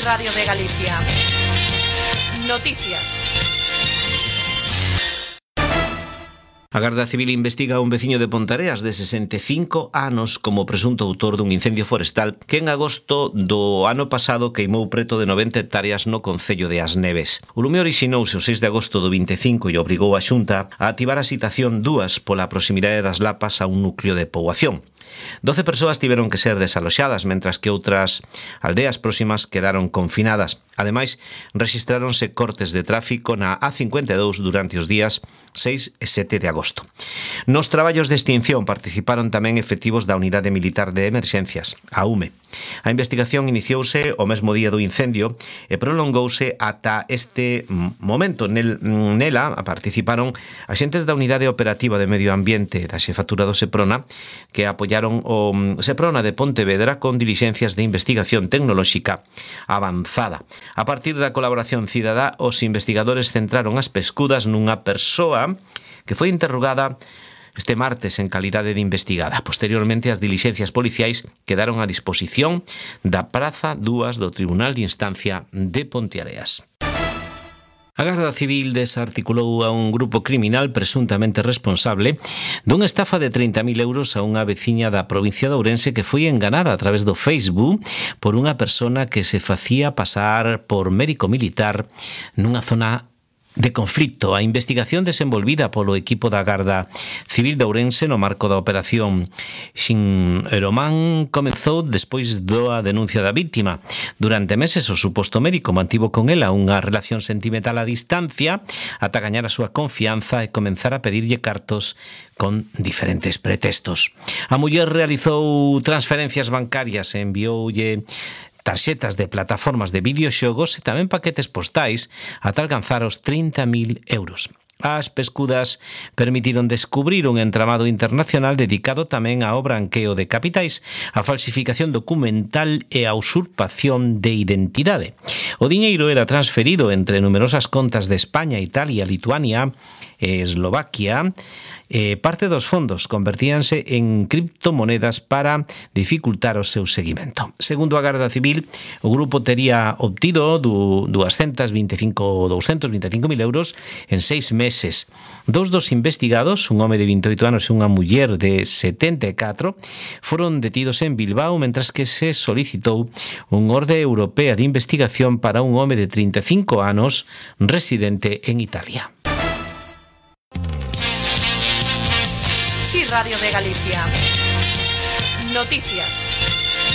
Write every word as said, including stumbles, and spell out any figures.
Radio de Galicia. Noticias. A Garda Civil investiga a un veciño de Pontareas de sesenta e cinco anos como presunto autor dun incendio forestal que en agosto do ano pasado queimou preto de noventa hectáreas no concello de As Neves. O lume orixinouse o seis de agosto do vinte e cinco e obrigou a Xunta a activar a citación dúas pola proximidade das Lapas a un núcleo de poboación. doce persoas tiveron que ser desaloxadas, mentras que outras aldeas próximas quedaron confinadas. Ademais, rexistráronse cortes de tráfico na A cincuenta e dous durante os días seis e sete de agosto. Nos traballos de extinción participaron tamén efectivos da Unidade Militar de Emerxencias, a U M E. A investigación iniciouse o mesmo día do incendio e prolongouse ata este momento. Nel, nela participaron axentes da Unidade Operativa de Medio Ambiente da Xefatura do Seprona, que apoiaron o Seprona de Pontevedra con dilixencias de investigación tecnolóxica avanzada. A partir da colaboración cidadá, os investigadores centraron as pescudas nunha persoa que foi interrogada este martes en calidade de investigada. Posteriormente, as dilixencias policiais quedaron a disposición da Praza dúas do Tribunal de Instancia de Ponteareas. A Garda Civil desarticulou a un grupo criminal presuntamente responsable dunha estafa de trinta mil euros a unha veciña da provincia de Ourense que foi enganada a través do Facebook por unha persona que se facía pasar por médico militar nunha zona de conflito. A investigación desenvolvida polo equipo da Garda Civil de Ourense no marco da operación Xinromán comezou despois da denuncia da víctima. Durante meses o suposto médico mantivo con ela unha relación sentimental a distancia ata gañar a súa confianza e comenzar a pedirlle cartos con diferentes pretextos. A muller realizou transferencias bancarias e envioulle tarxetas de plataformas de videoxogos e tamén paquetes postais ata alcanzar os trinta mil euros. As pescudas permitiron descubrir un entramado internacional dedicado tamén ao branqueo de capitais, a falsificación documental e a usurpación de identidade. O diñeiro era transferido entre numerosas contas de España, Italia, Lituania e Eslovaquia. Eh, parte dos fondos convertíanse en criptomonedas para dificultar o seu seguimento. Segundo a Garda Civil, o grupo tería obtido doscientos veinticinco mil euros en seis meses. Dous dos investigados, un home de vinte e oito anos e unha muller de setenta e catro, foron detidos en Bilbao, mentras que se solicitou un orde europea de investigación para un home de trinta e cinco anos residente en Italia. Radio de Galicia. Noticias.